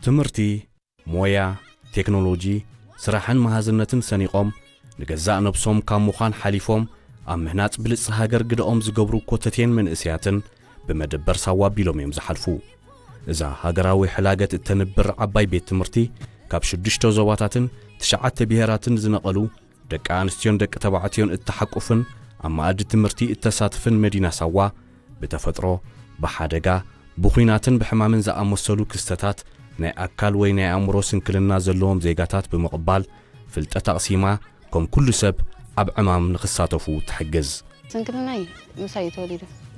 ትምህርቲ፣ ሞያ፣ ቴክኖሎጂ፣ ስራሕን መሃዝነትን ሰኒቖም፣ ንገዛእ ነብሶም ካብ ምዃን ሓሊፎም፣ ኣብ ምህናጽ ብልጽ ሃገር ግደኦም ዝገብሩ ኮተቴን መንእሰያትን ብመደበር ሳዋ ኣቢሎም እዮም ዝሓልፉ። እዛ ሃገራዊ ሕላገት እተንብር ዓባይ ቤት ትምህርቲ፣ ካብ ሽዱሽተ ዞባታትን ትሽዓተ ብሄራትን ዝነቐሉ ደቂ ኣንስትዮን ደቂ ተባዕትዮን እተሓቁፍን ኣብ መኣዲ ትምህርቲ እተሳትፍን መዲና ሳዋ፣ ብተፈጥሮ፣ ብሓደጋ፣ ብኹናትን ብሕማምን ዝኣመሰሉ ክስተታት ናይ ኣካል ወይ ናይ ኣእምሮ ስንክልና ዘለዎም ዜጋታት ብምቕባል፣ ፍልጠት ኣቕሲማ፣ ከም ኩሉ ሰብ ኣብ ዕማም ንኽሳተፉ ትሕግዝ። ስንክልናይ ምሳይ እዩ ተወሊዱ።